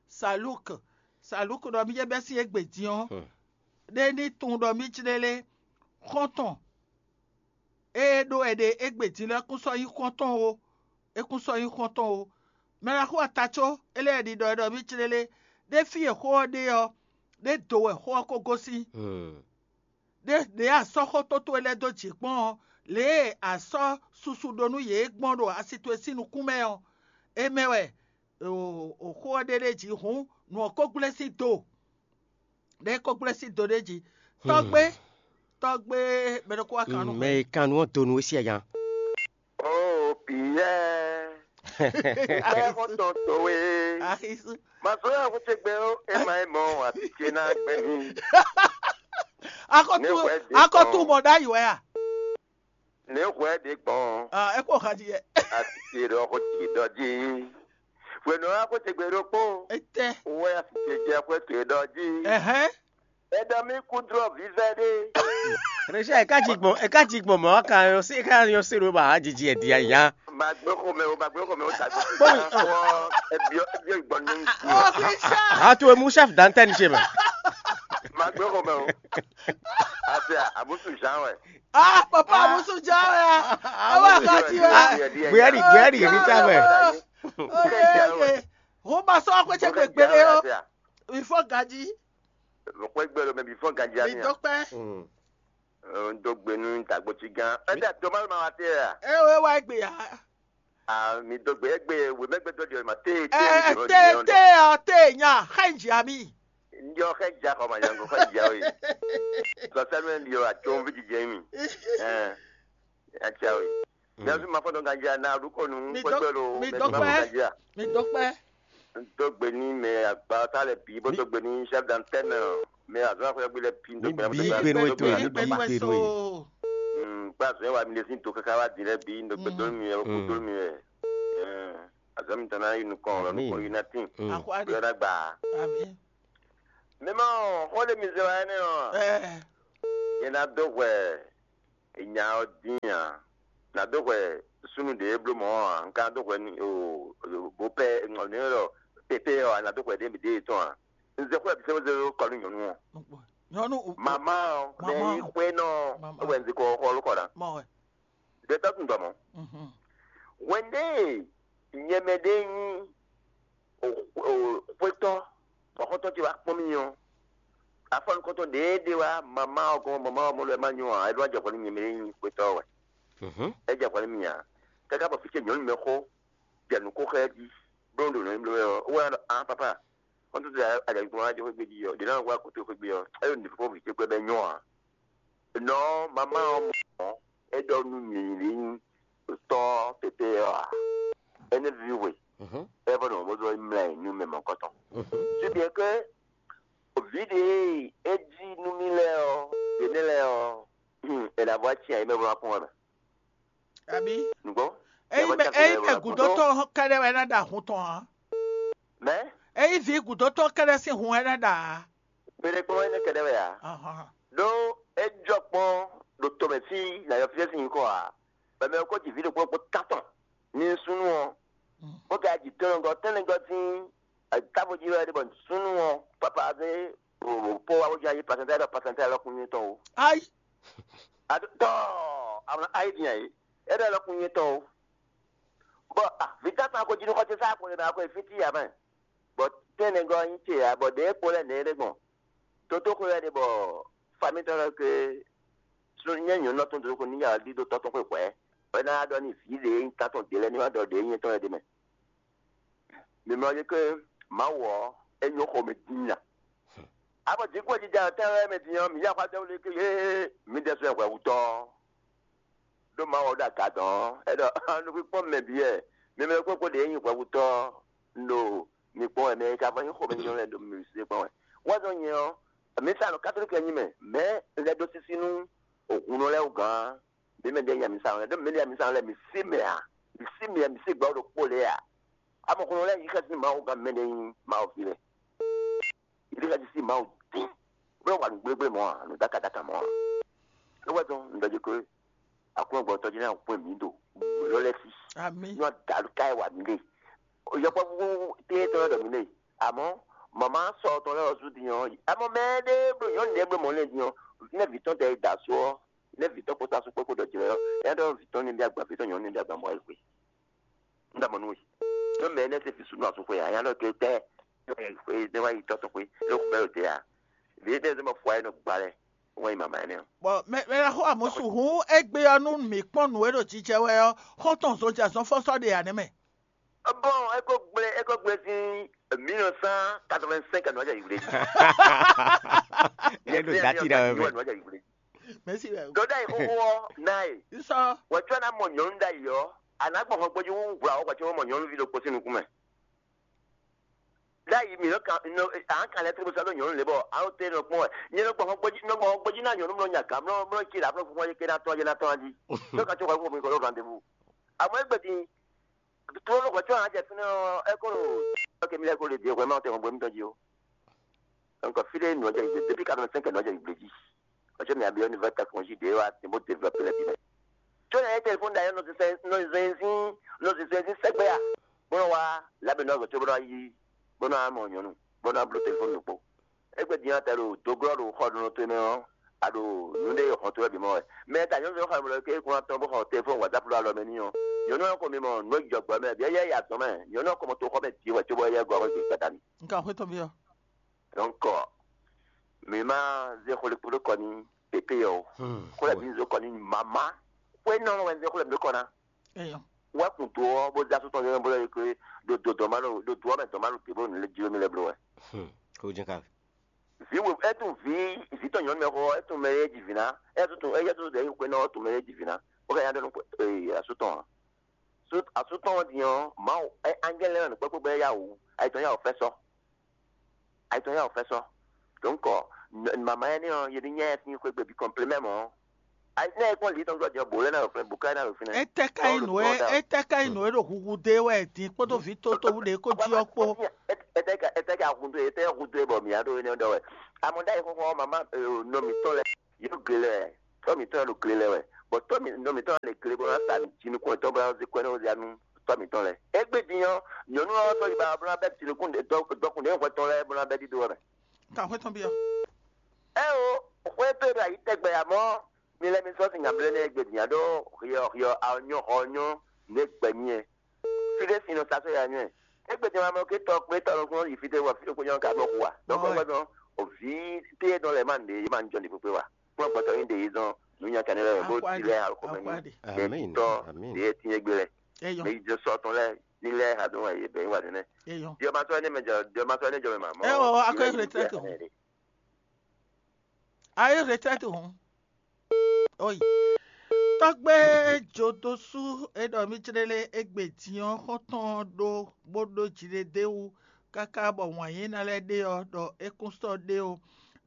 Salúk, Salúk ɖɔ mì jɛ bɛ́ sín égbé din ɔ́, ɖé ní tunwun ɖɔ mì jlélé xɔ́ntɔn e ɖó wɛ ɖe égbé din lɛ́ɛ kún sɔ́ nyí xɔ́ntɔn ó, é kún sɔ́ nyí xɔ́ntɔn ó. Mɛ ɖaxó ata có é lɛ́ ɖiɖɔ wɛ ɖɔ mì jlélé, ɖé fí e xó ɔ́ ɖe ɔ́, ɖé do wɛ xó ɔ́ ko gosín. Ɖé ɖě a sɔ́ xó tótó e lɛ́ɛ dó jǐ kpɔ́n ɔ́, lě e a sɔ́ susu ɖó nú yě gbɔn ɖo asi towe sín nukún mɛ ɔ́, é mɛ wɛ xó ɔ́ ɖe ɖ'é jí hǔn, nǔ ɔ́ ko gblé sín do. Ɖé ko gblé sín do ɖ'é jí. Tɔ́gbé, tɔ́gbé, mɛ ɖokpó wá kan nú mɛ e kan nú ɔ́ donu é sí aya. Ó Piyɛ́ɛ, xɛ́xɔ́ntɔn towe, ma sɔ́ yá xó ce gbɛ ó, é ma é mɔ ati ce ná gbɛ mì. Akɔtu, akɔtu mɔ ɖ'ayǐ wɛ a? Nɛ̌ hwɛ ɖě gbɔn? Ah, é kó xají yɛ. Ati ce ɖɔ xó ce ɖɔ jí. Hwenu ɔ́, xó ce gbe ɖokpó. Etɛ. Wɛ ati ce jɛ xwé ce ɖɔ jí. Ɛhɛn. Eɖɔ mì kú dlɔ́ vívɛ́ ɖé. Rechel, e ka ji gbɔn, e ka ji gbɔn mɔ̌ ka nyɔ se, e ka nyɔ se ɖo ba jiji e dia nya. Magbe xɔmɛ o, magbe xɔmɛ o, ta gbɔ. Kpɔmi. Wɔ ebiɔ ebiɔ gbɔn ní. Atu emu chef d'antenne chez ma. Magbe xɔmɛ o. Afia abusu Jean wɛ. Ah, papa abusu Jean wɛ. Awa ka ti wɛ. Buyadi, buyadi, Rita wɛ. Roma sɔ akpɛtsɛ gbegbe ɖe o. Ifɔ gaji. Lɔkpɛ gbɛ lɔ mɛ bi fɔ ganji ami. Mi dɔkpɛ. N dó gbe nú dàgbòtsi gán. Ɛ dɛ tó má ma wá tẹ ya. Ɛ wɛ wá gbé ya. A mi dó gbe egbe wemɛgbɛ dɔ diɔ ma te te. Ɛ te te ɔ te nya xɛ n jia mi. N diɔ xɛ ja xɔ ma yango xɛ ja o yi. Sɔsɛnu n diɔ atso n vi jijɛ mi. Ɛ. Acha o yi. Biazu ma fɔ dɔn ganjia na ɖu kɔ nu. Mi dɔkpɛ. Mi dɔkpɛ. Dogbe ni mɛ agba ta lɛ bi bó dogbe ni chef d'antenne mɛ azɔn afɔ gbe lɛ bi. Ni bi gbenu eto ye, ni bi gbenu ye. Gba zɔn wa mi lɛ sin to kaka wa di lɛ bi dogbe donu mi yɛ ko donu mi yɛ. Azɔn mi tana yi nukɔn lɔ nukɔn yi na tin. Yɔ na gba. Mɛ ma xɔ le mi zɛ wa ɛnɛ ɔ. Yɛ na do hwɛ. nya ɔ́ dín ǎ. Nǎ dó hwɛ súnnu ɖě bló mɔ̌ ǎ, un ka ná dó hwɛ n'i o, bó pɛ́ nɛ̌ ɖɔ pépé ɔ́, a nǎ dó hwɛ ɖě ɖě tɔn ǎ. Un zɛ xwé bǐ sɛ́ bó zé dó kɔ nú nyɔ̌nu ɔ́. Nyɔ̌nu o- o- Mama ɔ́, mɛ Mama. Yi xwé nɔ Mama. É wɛ un zikɔ xɔ ló kɔ ná. Mɔ wɛ. Ɖe tɔ́ tun dɔ mɔ̌. Mhm. Hwɛndé nyɛmɛ ɖé nyí o- o- xwétɔ́, bɔ xɔ́ntɔn ce wá kpɔ́n mì ɔ́, afɔnukɔntɔn ɖě ɖe wá mama ɔ́ gɔ́n, mama ɔ́ mɔ lɔ ɛ má nyɔ ǎ, é ɖó ajɔ hwɛ nú nyɛ mɛ e nyí xwétɔ́ ɔ́ wɛ. Mhm. É jɛ hwɛ nú mì ǎ. Káká bɔ fí ce nyɔ̌nu mɛ xó jɛ nǔ ko xá ɛ jí, bló ɖo nǔ e bló wɛ ɔ́, é wá ɖɔ: "Ǎ papa, xɔ́ntɔn ce ajɔ̌gbɔn wá jɛ xwé gbe jí ɔ́, ɖě ná wá kó tó xwé gbe ɔ́, é ɖo nǔ fífó vǐ ce kpɛ́ bɔ é nyɔ ǎ." Nɔ mama ɔ́ mɔ ɔ́, é ɖɔ nú nyǐnyí tɔ́ pépé ɔ́ ǎ. Énɛ́ víví hwe, é vɔ nɔ bó zɔ mlá ɛ nú mɛ mɔ̌kɔtɔn. Su bien ke vǐ ɖě e é jí nú mì lɛ́ɛ ɔ́, yě mɛ lɛ́ɛ ɔ́, hmm, è nǎ vɔ acin ayǐ mɛ bó ná kpɔ́n wɛ mɛ. Abǐ? Nǔgbó? Ényí mɛ ényí mɛ gǔdótɔ́ kɛ́ɖɛ́ wɛ ná ɖa hun tɔn ǎ. Mɛ? Ényí vǐ gǔdótɔ́ kɛ́ɖɛ́ sín hun wɛ ná ɖa ǎ. Mɛ ɖé kpɔ́n énɛ́ kɛ́ɖɛ́ wɛ ǎ. Ahán. Ɖó é jɔ kpɔ́n ɖo tomɛ fí nǎ yɔ fí sín nyǐkɔ ǎ. Bɔ mɛ ɔ́ ko ji vǐ ɖokpó ɖokpó tántɔn n'i súnnu ɔ́, bó ka ji tɔnɔgɔ́ tɛnɛgɔ́ sín távo jí wɛ ɖe bɔ súnnu ɔ́ papa zé po wá bó ján yí pasɛntɛ ɖɔ pasɛntɛ lɔ kún nyí tɔn o. Ayi. Adó tɔ àwọn ayi dín ayi é ɖɔ lɔ kún nyí tɔn o. Bɔ vǐ tántɔn ko jí nú xɔ ce sá ko lè nɔ ko fí tí yǎ mɛ. Bɔ tɛnɛgɔ́ nyí ce ǎ, bɔ ɖě kpo lɛ́ nɛ̌ ɖé gbɔn. Toto xwe wɛ ɖe bɔ famitɔ́ lɛ́ɛ ke sun nyɛ nyɔ̌nu tɔn dó ko ní ya ɖi dó tɔ́ tɔn xwe hwɛ̌, bɔ é ná ɖɔ ní vǐ ɖě nyí tán tɔn ɖě lɛ́ɛ ní ma ɖɔ ɖě nyí tɔn lɛ́ɛ ɖ'é mɛ. Mǐmlɔ́ yě ke Mawu ɔ́, é nyɔ́ xomɛ dín nya. Abɔ jǐkúnwɛjijɛ ɔ́ tɛ́nwɛ mɛ din ɔ́, mǐ yí axwá dɛ́wú lé ké yé mǐdɛɛ sɔ́ ɛ hwɛhutɔ́ ɔ́. Ɖó Mawu ɔ́ ɖo aga dɔn ɔ́, é ɖɔ: "Nukúnkpɔ́n mɛ bǐ wɛ, mi mɛ kpókpó ɖě nyí hwɛhutɔ́ ɔ́, un ɖo mi kpɔ́n wɛ, mɛ e ka vɔ nyí xomɛnyínyɔ́ lɛ́ɛ ɖo mi sí kpɔ́n wɛ." Wɛ́zɔ́ nyɛ ɔ́, mǐ sa nɔ katolíki nyí mɛ, mɛ̌ un lɛ́ ɖó sísí nú hunnɔ lɛ́ɛ wú gǎn? Mǐ mɛ ɖě nya mǐ sa nɔ lɛ́ɛ, ɖó mǐ mɛ ɖě nya mǐ sa nɔ lɛ́ɛ, mǐ sí mɛ ǎ, mǐ sí mɛ, mǐ sí gbɛ̌ ɖokpó lɛ́ɛ ǎ. Amɔ̌ hunnɔ lɛ́ɛ nyí xɛsi nú Mawu gán mɛ ɖě nyí Mawu ví lɛ́ɛ. Yě ɖi xɛsi sín Mawu dín, bó nɔ́ wa nǔ gblégblé mɔ̌ ǎ, nǔ dáka dáka mɔ̌ ǎ. É wɛ dɔn un ɖɔ jí kó Aklúnɔgbɔtɔ́ jí ná hwɛ mǐ ɖo lɔ́ lɛ́ɛ sí. Amǐ. Ní wọ́n dǎlú ká ɛ wà mí lé. Yɔkpɔ́vú téé tɔn lɛ́ɛ ɖɔ mǐ lé. Àmọ́ màmá sɔ tɔn lɛ́ɛ ɔ́ sú din ɔ́, àmọ́ mɛ ɖé bló nyɔ̌nu ɖé bló mɔ̌ lɛ́ɛ din ɔ́, nɛ́ vǐ tɔn tɛ da asú ɔ́, nɛ́ vǐ tɔn kpódó asú kpó kpó ɖɔ jlɛ́ ɔ́, é ná ɖɔ vǐ tɔn ní ɖe agba, vǐ tɔn nyɔ̌nu ní ɖe agba mɔ̌ wɛ xwe. Un ɖɔ mɔ̌ nú we. Nú mɛ énɛ́ se fí súnnu asú xwe ǎ, nya ɖɔ ke tɛ́ é wá yi tɔ́ tɔn xwé, é xú bɛ́ ɖo te ǎ. Vǐ énɛ́ zɔ́n bɔ fɔ ayé nɔ gba lɛ́ɛ, wọ́n yi mama énɛ́ ɔ́. Bɔ mɛ mɛ ná xo amusu hun égbé ɔ́ nú mǐ kpɔ́n nǔ e ɖo jijɛ wɛ ɔ́, xɔ́ntɔn zɔnjɛ azɔnfɔ́sɔ́ ɖe ǎ nɛ́ mɛ. Bon, é ko gblé, é ko gblé sín mille neuf cent quatre-vingt-cinq nɔ jɛ yǐwlé jí. Yɛ ɖo dati ɖe wɛ mɛ. Nɔ jɛ yǐwlé jí. Mɛsi wɛ. Dɔda yi xoxo ɔ na ye. Sɔ. Wɛ tsɔ na mɔ nyɔnu da yi ɔ, ana gbɔn xɔ gbɔdzi wu wla wɔ gbɔdzi mɔ nyɔnuvi ɖokpo sín nukún mɛ. Ɖ'ayǐ mǐ nɔ kan nɔ an kan lɛ tlé bó sɔ́ ɖó nyɔ̌nu lě bɔ an ɖo te nɔ kpɔ́n wɛ. Nyɛ nɔ gbɔn gbɔjí nɔ gbɔn gbɔjí ná nyɔ̌nu mlɔ nya gǎn mlɔ mlɔ ce ɖě ablɔ́ fúnfún ɔ́ ké ná tɔ́n ɔ́ ké ná tɔ́n jí. Tó ka tó hwɛ fún mi kɔ ɖó rendez-vous. Àmọ́ égbè din, tó ló hwɛ tó hàn jẹ fínɛ́ ɔ́, é kó ɖo ɔ́ ké mi lɛ́ kó lè dě hwɛ má tɛ hɔn bó mi tɔn jí ó. Donc fí ɖé nǔ ɔ́ jɛ yǐ gbé, depuis quatre-vingt-cinq nǔ ɔ́ jɛ yǐ gbé jí. Parce que mǐ abiyɔ́ ní vɛ́ tɛkɔnjí ɖě wá sin bó développé lɛ́ɛ bǐ mɛ. Có nɛ̌ nyí telefɔni ɖ'ayǐ ɔ́ nɔ zɛzɛn zɛzɛn zɛzɛn sɛ́gbɛ a? Bó nɔ́ wá lábɛ nɔ gbe tó bó nɔ́ yí bó nɔ́ mɔ nyɔ̌nu bó nɔ́ bló telefɔni ɖokpó. Égbé din ɔ́, tɛ ɖo dǒglɔ́ ɖo xɔ ɖonɔ towe mɛ ɔ́, a ɖo nǔɖé e hɔn towe bǐ mɔ wɛ. Mɛ e ta nyɔ̌nu xɔ mɛ lɔ ké kún atɔn bó xɔ telefɔni WhatsApp ɖo alɔ mɛ n'i ɔ́, nyɔ̌nu ɔ́ ko mi mɔ nǔ e jɔ gbɔ mɛ, bǐ yɛ yi azɔn mɛ, nyɔ̌nu ɔ́ ko mɔ to xɔ mɛ din wɛ cóbɔ yɛ gɔ́ xɔ gbadanu. Nka xwé tɔn byɔ́. Donc mǐ ma zé xwle kpódó kɔ ní pépé ɔ́ o. Xwle mǐ zó kɔ ní mama. Xwé nɔ wɛ zé xwle mǐ kɔ ná. Eyɔ. Wɛ kun do ɔ́ bó dá sótɔ yɔn bó lɛ ke do do dɔn ma ɖo do do ɔmɛ dɔn ma ɖo te bó nǔ lé jló mi lɛ bló wɛ. Kó jɛ ka. Vi wo etun vi vi tɔ nyɔnu mɛ xɔ etun mɛ ye ji vi ná etun etun eye tun de xwé nɔ etun mɛ ye ji vi ná. Ó ka nya ɖɔ nú ee asútɔ hàn. Asútɔ ɔ́ din ɔ́, Mawu angɛ́lɛ lɛ́ɛ nɔ kpɛ́kpɛ́ gbɛ́ yá wǔ, ayǐtɔn yá wǔ fɛ́ sɔ́. Ayǐtɔn yá wǔ fɛ́ sɔ́. Donc mama énɛ́ ɔ́, yě ní nyá ɛ sín xwé gbe bǐ kɔnplémɛ mɔ̌. Ayi ne e kpɔ́n lǐ tɔn gbɔjɔ bǒ lɛ́ ná ɖo fínɛ́, bǔ ká ná ɖo fínɛ́. Etɛ ka nyí nǔ e etɛ ka nyí nǔ e ɖo huhu dó e wɛ din kpódó vǐ tótó ɖě kó jí ɔ́ kpó. Etɛ ka etɛ ka hudo etɛ hudo e bɔ mǐ á ɖó énɛ́ ɖɔ wɛ. Amɔ ɖ'ayǐ xɔxɔ mama nɔ mǐtɔn lɛ yě ɖo gle lɛ wɛ, tɔ́ mǐtɔn lɛ ɖo gle lɛ wɛ. Bɔ tɔ́ mǐtɔn lɛ gle bó ná sa jinukún yětɔn bó ná zé kwɛ́ nú ya nú tɔ́ mǐtɔn lɛ́ɛ. Égbé din ɔ́, nyɔ̌nu ɔ́ sɔ́ yi ba bó ná bɛ́ jinukún dɔkun ɖě hwɛ tɔn lɛ́ɛ bó ná bɛ́ ɖíɖó ɔ́ mɛ. Ka xwé tɔn byɔ́. Ɛ o, xwé tó e ɖo ayǐ tɛgbɛ amɔ̌, mi lɛ́ mi sɔ́ sin nya blé nɛ́ égbé din ǎ ɖó hyɔ hyɔ anyɔ́ xɔ nyɔ́ nǔ e gbɛ nyí ɛ. Fí ɖé sin nɔ sa sɔ́ ya nyɔ́ ɛ. Égbé din amɔ̌ ké tɔ kpé tɔ nɔ kún yi fí ɖé wɔ fí ɖokpó nyɔ́ ka nɔ xu a? Dɔ̌nkpɛ́ gbɛ́ dɔn, vǐ té e nɔ lɛ́ ma nǔɖé yě ma jɔ ní kpékpé wa. Kplɔ́n gbɔtɔ nyí ɖe yě zɔn nǔnyakanɛ lɛ́ɛ bó ti lɛ́ɛ alukɔmɛ ní. Mɛ tɔ ɖě e tín égbé lɛ. Mɛ yi jɛ sɔ tɔn lɛ́ɛ ní lɛ́ɛ ha dó wɛ yě bɛn wà nínɛ. Diɔmasɔ ɛnɛ mɛ jɔ diɔmasɔ ɛnɛ jɔ mɛ ma mɔ. Ɛ o, akɔ retraite hɔn. Ayé retraite hɔn. Oyi. Tɔgbe jodosu e ɖɔ mi jlele egbe din ɔ́ xɔntɔn ɖó bó ɖó jiɖeɖewu káká bɔ wǎn yé ná lɛ́ ɖe ɔ́ ɖɔ é kún sɔ́ ɖe ó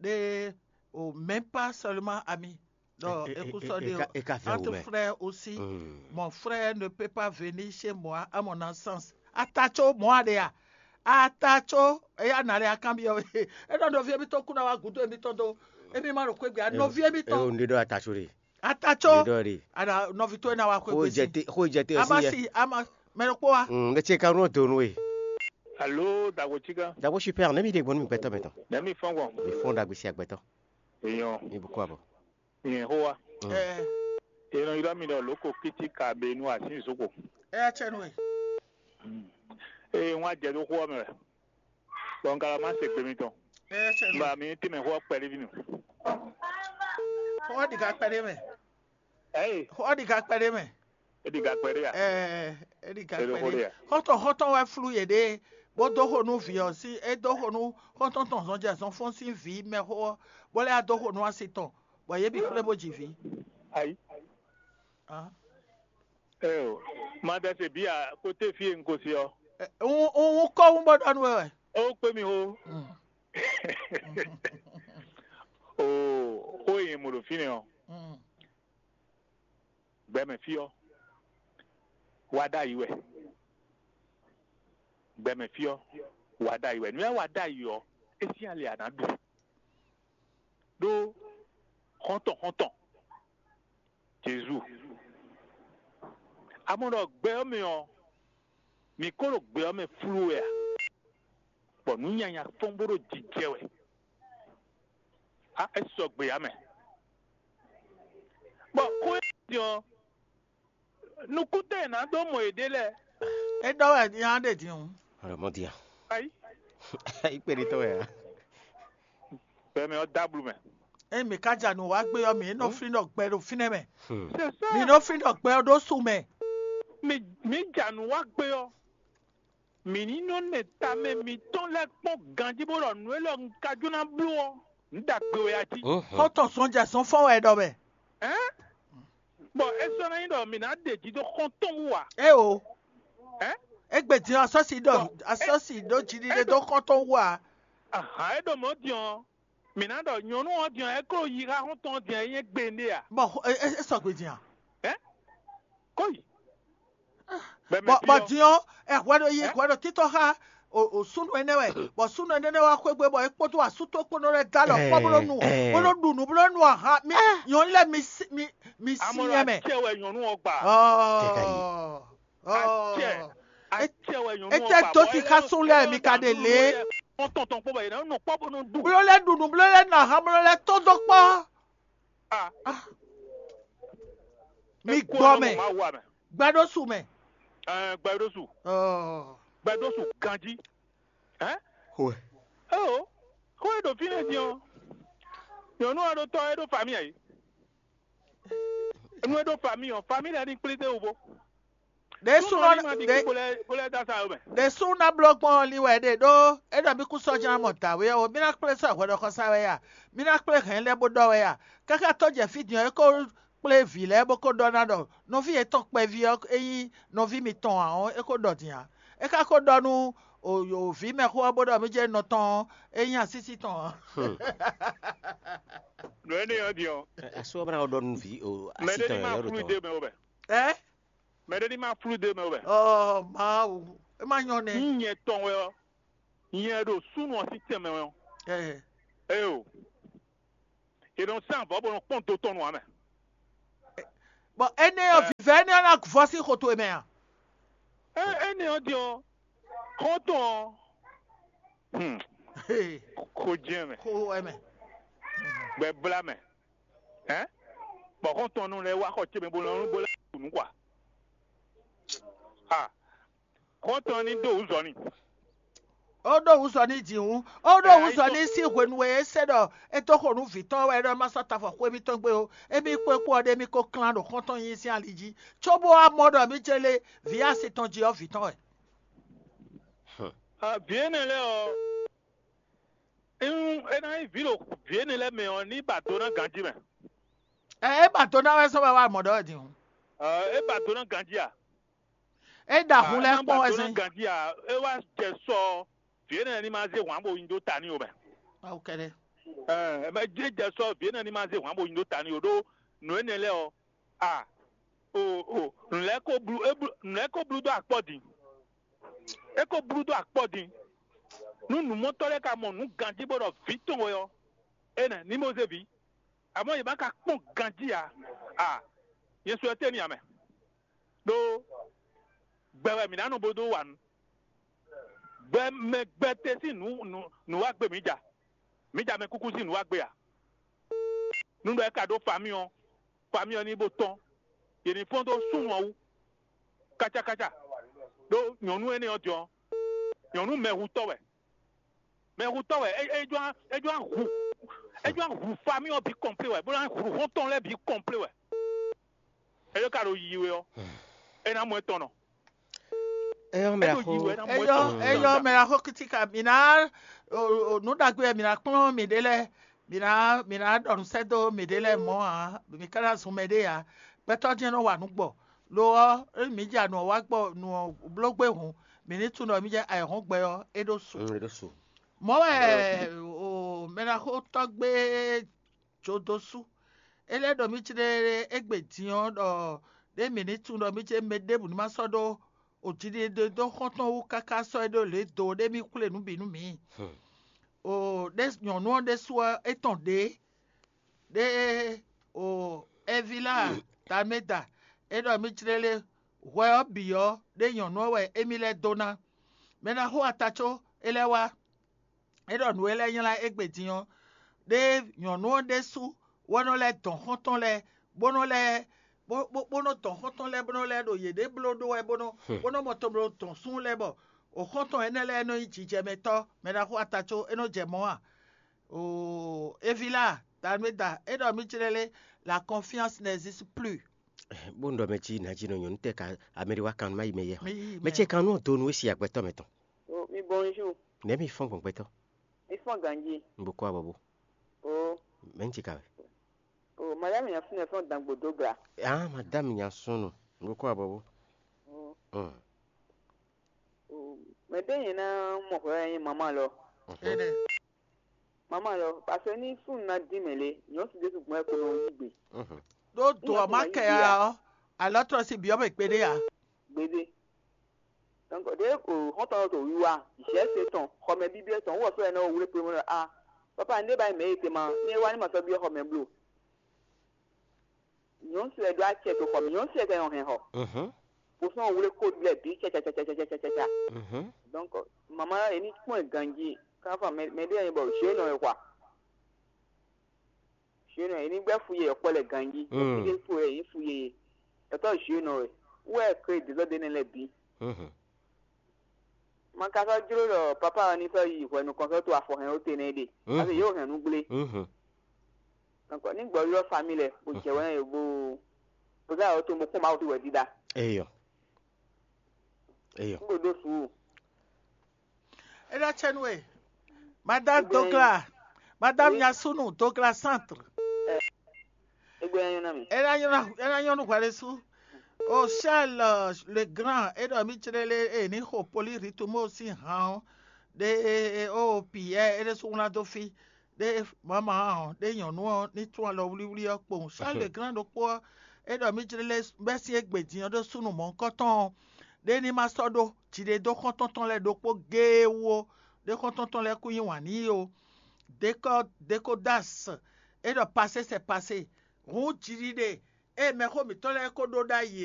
ɖe o même pas seulement ami ɖɔ é kún sɔ́ ɖe ó. Entre frères aussi, mon frère ne peut pas venir chez moi à mon naissance. Ata có mɔ̌ a ɖe a? Ata có eya nǎ lɛ́ akanbyɔ́ we. É ɖɔ nɔví émítɔn kú ná wá gǔdo émítɔn dó émí má ɖo xwé gbe a nɔví émítɔn. Eo ŋɖe ɖɔ ata có ɖe. Ata có. Ŋɖe ɖɔ ɖe. Ana nɔví towe ná wá xwé Xó gbe jɛ sí. Te xó jɛ te Ama ɔsí yɛ. Si ama mɛ ɖokpó wa. Mm, ne tse ka nɔ do nú we. Alo dagbo tsika. Dagbo super ne mi ɖe gbɔn mi gbɛtɔ mɛ tɔn. Ne mi fɔn gbɔn. Mi fɔn dagbo si agbɛtɔ. Eyɔn. Mi bu kɔ abɔ. Yẹn xó wa. Mm. Ɛ Yɛn nɔ ylɔ́ mi ɖɔ lǒko kítíkabenu asínzukpo. Ɛ tsɛ nú we. Eye wọ́n á jɛ dó xó ɔ́ mɛ wɛ, bɔ un ka lɔ má se gbe mitɔn. Ɛ tsɛ nú Ba we. Mi ní tínmɛ xó ɔ́ kpɛɖé ví nu. Xó ɔ́ ɖi ka kpɛɖé mɛ. Ɛyí, Xó ɔ́ ɖi ka kpɛɖé mɛ. É ɖi ga kpɛɖé a? Ɛ é ɖi ka Elo kpɛɖé. Xó ɖe a? Xɔ́ntɔn xɔ́ntɔn wɛ flú yěɖée, bó dó xo nú vǐ ɔ́ sín é dó xo nú xɔ́ntɔn tɔn zɔnjɛ zɔnfɔ́n sín vǐ mɛxó ɔ́, bó lɛ́ dó xo nú asi tɔn, bɔ yě bǐ kplé bó ji vǐ. Ayi. Ah. Eo, ma ɖɛse bia côté fie un ko si ɔ. Ɛ, un un un kɔ un bɔ ɖɔ nú ɛ wɛ. O kpé mi xó. Mm. O xó e nyɛ mo ɖo fínɛ́ ɔ, Mm. Gbɛmɛ fí ɔ, wá ɖ'ayǐ wɛ. Gbɛmɛ fí ɔ, wá ɖ'ayǐ wɛ. Nǔ e wá ɖ'ayǐ ɔ, é sín ali a nǎ ɖu. Ɖó xɔ́ntɔn xɔ́ntɔn Jezu. A mɔ ɖɔ gbɛ ɔ́ mɛ ɔ́, mǐ ko ɖo gbɛ ɔ́ mɛ flú wɛ a? Bɔ nǔ nyanya fɔ́n bó ɖo jijɛ wɛ. A é sɔgbe ǎ mɛ. Bɔ xó e din ɔ́, nukúntɛn e nǎ dó mɔ yěɖée lɛ́ɛ. É ɖɔ wɛ nya ɖe din o. Alo mɔ dia. Ayi. Ayi kpe ɖi tɔ wɛ a. Bɛmɛ ɔ́ dó ablu mɛ. Ényí mǐ ka ja nǔ wa gbé ɔ́, mǐ nɔ flín ɖɔ gbɛ ɖo fínɛ́ mɛ. Hmm. C'est ça. Mǐ nɔ flín ɖɔ gbɛ ɔ́ ɖó su mɛ. Mi mi ja nǔ wa gbé ɔ́, mǐ ní nɔ nɛ tamɛ mitɔn lɛ́ɛ kpɔ́n ganjí bó ɖɔ nǔ élɔ́ un ka jó ná bló ɔ́, un ɖagbe wɛ a jí. Mhm. Xɔ́ntɔn zɔnjɛ zɔnfɔ́n wɛ ɖɔ mɛ. Hɛn? Bɔ é sɔ́ ná nyí ɖɔ mǐ ná ɖe jí dó xɔ́ntɔn wú a? É o. Hɛn? Égbé din asɔ́si ɖɔ Bɔ é- asɔ́si ɖó jiɖiɖe é ɖo- dó xɔ́ntɔn wú a? Ahan é ɖo mɔ̌ din ɔ́, mǐ ná ɖɔ nyɔ̌nu ɔ́ din ɔ́, é kó yi xá xɔ́ntɔn ɔ́ din ɔ́, é nyí gbe nɖé a? Bɔ xɔ- é- é- é sɔgbe din a? Hɛn? Kó yi. Bɔ Bɔ mɛ bɔ byɔ́. Din ɔ́, ɛ hwɛ ɖo yi Hɛn? Hwɛ ɖo títɔ xá o o súnnu énɛ́ wɛ, bɔ súnnu énɛ́ wá xwé gbe bɔ é kpódó asú tó kpó nɔ lɛ́ dó alɔ kpɔ́ bó nɔ nu Ɛ, ɛ. Bó nɔ ɖu nǔ bó nɔ nu ahan mi nyɔ̌nu lɛ́ɛ mi sí mi mi sí Amɔ́ nyɛ mɛ. Acɛ wɛ nyɔ̌nu ɔ́ gba. Ɔɔ Acɛ. ɔɔ Acɛ wɛ nyɔ̌nu ɔ́ Ete gba. Dó Bɔ sixá é sún lɛ́ɛ é mi ka ɖe lé. Wọ́n tɔn tɔn kpó bɔ yě ná nɔ kpɔ́ bó nɔ ɖu. Bló lɛ́ ɖu nǔ bló lɛ́ nɔ ahan bló lɛ́ tó dó kpɔ́. Ah, Ah, mi é kú gbɔ ɔ́ mɛ. Nɔ mɔ Mawu a mɛ. Gbɛɖósu mɛ. Ɛɛ, gbɛɖósu. Ɔɔ. Gbɛɖósu ganjí. Hɛn? Xwe. Eo, xó e ɖo fínɛ́ din ɔ́, nyɔ̌nu ɔ́ ɖo tɔ́ é ɖo fami ǎ é. Nú é ɖo fami ɔ́, fami lɛ́ɛ ní kplí dé wú bó. Ɖě súnɔ Súnɔ ní ma ɖi ɖě kú bó lɛ́ bó lɛ́ dó asa ɔ́ mɛ. Ɖě sú ná bló gbɔn ɔ́ li wɛ ɖe ɖó é ɖɔ mí kún sɔ́ jlá mɔ dǎwe ɔ́ ó, mí ná kplé sɔ́ hwɛ ɖɔxɔsá wɛ ya, mí ná kplé hɛ̌n lɛ́ɛ bó ɖɔ wɛ ya. Káká tó jɛ fí din ɔ́, é kó kplé vǐ lɛ́ɛ bó kó ɖɔ ná ɖɔ nɔví yětɔn kpɛví ɔ́ é nyí nɔví mitɔn ǎ ɔ́, é kó ɖɔ din ǎ. É ka ko ɖɔ nú o o vǐ mɛxó ɔ́ bó ɖɔ mí jɛ nɔ tɔn ɔ́, é nyí asísí tɔn ǎ. Nǔ énɛ́ ɔ́ din ɔ́, Asú ɔ́ bá ná ɖɔ nú vǐ o mɛ así ɖé ní tɔn má ɔ́ yɔ́ ɖo flú tɔn. Dé mɛ ó bɛ. Ɛ? Mɛ ɖé ní má flú dé mɛ ó bɛ. Ɔ Mawu, é má nyɔ́ nɛ́. Nyí nyɛ tɔn wɛ ɔ́, nyɛ ɖo súnnu ɔ́ sín tɛnmɛ wɛ ɔ́. Ɛ. Ée o, è nɔ sán avɔ̌ bó nɔ kpɔ́n do tɔn nu ǎ mɛ. Bɔ énɛ́ ɔ́, vǐvɛ́ énɛ́ ɔ́ ná vɔ sín xo towe mɛ a? Ɛ énɛ́ ɔ́ din ɔ́, xɔ́ntɔn ɔ́, hmm, xo jɛ́n mɛ, xo wɛ mɛ. Gbɛ blá mɛ, hɛn, bɔ xɔ́ntɔn nɔ lɛ́ wá xɔ ce mɛ bó lɔn bó lɛ́ ɖu nǔ kɔ a? Xɔ́ntɔn ní dó wǔ zɔ n'i. Ó ɖó wǔ zɔ n'i jǐ hǔn, ó ɖó wǔ zɔ n'i sín hwenu e é se ɖɔ é dó xo nú vǐ tɔn wɛ é ɖɔ é má sɔ́ tafɔ xwé mítɔn gbe ó. Émí kpó é kpó ɔ́ ɖé émí ko klán ɖo xɔ́ntɔn nyí sín ali jí, cóbó wá mɔ ɖɔ mí ce lé vǐ asi tɔn jí ɔ́ vǐ tɔn wɛ. Vǐ énɛ́ lɛ́ɛ ɔ́, é ná nyí vǐ ɖo vǐ énɛ́ lɛ́ɛ mɛ ɔ́, ní ba do ná ganjí mɛ. Ɛ é ba do ná wɛ sɔ́ wɛ wá mɔ ɖɔ wɛ din hǔn. É ba do ná ganjí a? É ɖo ahun lɛ́ɛ kpɔ́n wɛ zɛ́n. Ganjí a? É wá jɛ sɔ vǐ énɛ́ ní ma zé hwǎn bo nyi dó ta n'i ó mɛ. Awu kɛɖɛ. Ɛ mɛ jɛ jɛ sɔ vǐ énɛ́ ní ma zé hwǎn bo nyi dó ta n'i ó ɖó nǔ énɛ́ lɛ́ɛ ɔ́, a o o nǔ lɛ́ɛ ko blú é blú nǔ lɛ́ɛ ko blú dó akpɔ́ din. É ko blú dó akpɔ́ din. Nú nǔmɔtɔ́ lɛ́ɛ ka mɔ nǔ ganjí bó ɖɔ vǐ tɔn wɛ ɔ́, énɛ́ ní mɔ zé vǐ. Amɔ̌ yě ma ka kpɔ́n ganjí ǎ. A nyɛ su ɛ tɛ́ n'i ǎ mɛ. Ɖó gbɛ wɛ mǐ ná nɔ bó dó wa nǔ. Gbɛ mɛ gbɛtɛ́ sín nǔ nǔ nǔ wá gbe mǐ ja. Mǐ ja mɛ kúkú sín nǔ wá gbe ǎ. Nú ɖɔ é ka ɖó famí ɔ́, famí ɔ́ ní bó tɔ́n. Yě ní fɔ́n dó súnnu ɔ́ wú. Kácákácá. Ɖó nyɔ̌nu énɛ́ ɔ́ din ɔ́, nyɔ̌nu mɛhutɔ́ wɛ. Mɛhutɔ́ wɛ é é jló é jló hu é jló hu famí ɔ́ bǐ kɔnplé wɛ, bó ná hu xɔ́ntɔn lɛ́ɛ bǐ kɔnplé wɛ. É ɖó ka ɖo yiyi wɛ ɔ́, é ná mɔ étɔn nɔ. Eyɔ mɛ axo. Eyɔ eyɔ mɛ axo kitika mǐ ná nǔ ɖagbe wɛ mǐ ná kplɔ́n mǐɖée lɛ́ɛ, mǐ ná mǐ ná ɖɔ nǔ sɛ́ dó mǐɖée lɛ́ɛ mɔ̌ ǎ, mǐ ka ná zun mɛɖée ǎ. Gbɛtɔ́ jɛ́n nɔ wa nǔ gbɔ. Lo ɔ́, ényí mǐ ja nǔ ɔ́ wá gbɔ nǔ ɔ́ bló gbé hǔn, mǐ ní tunwun ɖɔ mǐ jɛ ayǐhɔ́ngbe ɔ́, é ɖó su. Mm, é ɖó su. Mɔ̌ wɛ o mɛɖaxótɔ́ gbe jó dó sú. É lɛ́ ɖɔ mì céɖéɖé égbé din ɔ́ ɖɔ ɖé mǐ ní tunwun ɖɔ mì cé mɛ ɖěbǔ ní ma sɔ́ ɖó o jiɖiɖe dó xɔ́ntɔn wú káká sɔ́ é ɖó lě do ɖé mì xwlé nǔ bǐ nú mǐ. O ɖé nyɔ̌nu ɔ́ ɖésú ɔ́ é tɔn ɖě ɖé o Ɛvila Talmeda é ɖɔ mì céɖéɖé hwɛ ɔ́ bǐ ɔ́ ɖé nyɔ̌nu ɔ́ wɛ émí lɛ́ dó ná. Mɛ ná xo ata có é lɛ́ wá. É ɖɔ nǔ e lɛ́ nylá égbé din ɔ́, ɖé nyɔ̌nu ɔ́ ɖésú wɛ nɔ lɛ́ dɔn xɔ́ntɔn lɛ́ɛ, bó nɔ lɛ́ bó bó bó nɔ dɔn xɔ́ntɔn lɛ́ɛ bó nɔ lɛ́ ɖo yěɖée bló ɖó wɛ bó nɔ bó nɔ mɔ tɔn bló dɔn súnnu lɛ́ɛ bɔ o xɔ́ntɔn énɛ́ lɛ́ɛ nɔ nyí jijɛmɛtɔ́ mɛ ɖaxó ata có é nɔ jɛ mɔ̌ a? Oo, Evila, Talmeda, é ɖɔ mì céɖéɖé, la confiance n'existe plus. Bó un ɖɔ mɛ jí nǎ jí nɔ nyɔ̌nu tɛ́ ka amɛɖé wá kan má yi mɛ yɛ. Mɛ ce kan nú do nú é si agbɛtɔ́ mɛ tɔn. O, mi bonjour. Nɛ̌ mi fɔ́n gbɔn gbɛtɔ́? Mi fɔ́n ganjí. Un bo kó abɔ bó. O, Mɛ̌ un ci ka wɛ? O, madame Yafune fɔ́n dangbo dó gla. Ah, madame Yasunu. Un bo kó abɔ bó. O, Mm. o, mɛ ɖé nyɛ ná mɔ hwɛ wɛ nyí mama lɔ. Mhm. Énɛ́. Mama lɔ, parce que ní súnnu ná dín mɛ lé, nyɔ̌nu si ɖésú gbɔn ɛ ko nɔ yí gbe. Mhm. Ɖó do ɔ́ má kɛ ya ɔ́, alɔ́tlɔ́ sín byɔ́ mɛ kpéɖé ǎ. Gbeɖé. Donc ɖě o xɔ́ntɔn ɔ́ to wiwa, zɛ̌ se tɔn, xɔmɛ bíbí tɔn, wɔ sɔ́ ɛnɛ wlé kpé mɔ a, papa un ɖé ba nyí mɛ e te ma, ní é wá ní ma sɔ́ byɔ́ xɔmɛ bló. Nyɔ̌nu si wɛ ɖó acɛ to xɔ mɛ, nyɔ̌nu si wɛ ka nyɔ hɛn xɔ. Mhm. Bosɔn wlé kó lɛ bǐ cacacacacacacacá. Mhm. Donc mama ɛ ní kpɔ́n ɛ ganjí, káfá mɛ mɛ ɖé ɛ nyí bɔ zě nɔ ɛ xwa. Zě nɔ ɛ ní gbɛ́ fu yɛ yɔkpɔ lɛ ganjí. Mm. Fíɖé fu yɛ yí fu yɛ. Ɛtɔ zě nɔ ɛ. Wɛ kre dezɔ de ne lɛ bǐ. Mhm. Ma ka sɔ́ jló ɖɔ papa ɔ́ ní sɔ́ yi hwɛ nukɔn sɔ́ to afɔ hɛn ó te nɛ́ ɖe. Mhm. Ase yě wǒ hɛn nú gblé. Mhm. Donc ní gbɔ ylɔ́ famille lɛ bó jɛ wɛn yě bó bó zá yǒ to mo kpɔ́n Mawu fi wɛ dídá. Eyɔ. Eyɔ. N ko ɖó suúlu. É ná cɛ nú we. Madame Douglas, Madame Yasunu Douglas Centre. Égbé nyanya na mi. É ná nyɔ́ ná é ná nyɔ́ nú hwɛɖésú. O Charles le Grand é ɖɔ mì céɖélé e ní xo poliritumo sín han ɔ́ ɖe o Pierre é ɖésú wlán dó fí. Ɖé mama ɔ́ ɖé nyɔ̌nu ɔ́ ní tún alɔ wlíwlí ɔ́ kpowun. Charles le Grand ɖokpó ɔ́ é ɖɔ mì jlé lɛ́ bɛ́ sín égbé din ɔ́ ɖó súnnu mɔ̌hunkɔtɔn ɔ́ ɖé ní ma sɔ́ ɖó jiɖedó xɔ́ntɔn tɔn lɛ́ɛ ɖokpó géé wú ó. Ɖé xɔ́ntɔn tɔn lɛ́ɛ kún yí wǎn n'i ó. Dékɔ dékodas é ɖɔ pasé sɛ pasé. Hǔn jiɖiɖe ée mɛxó mǐtɔn lɛ́ɛ ko ɖó ɖ'ayǐ é.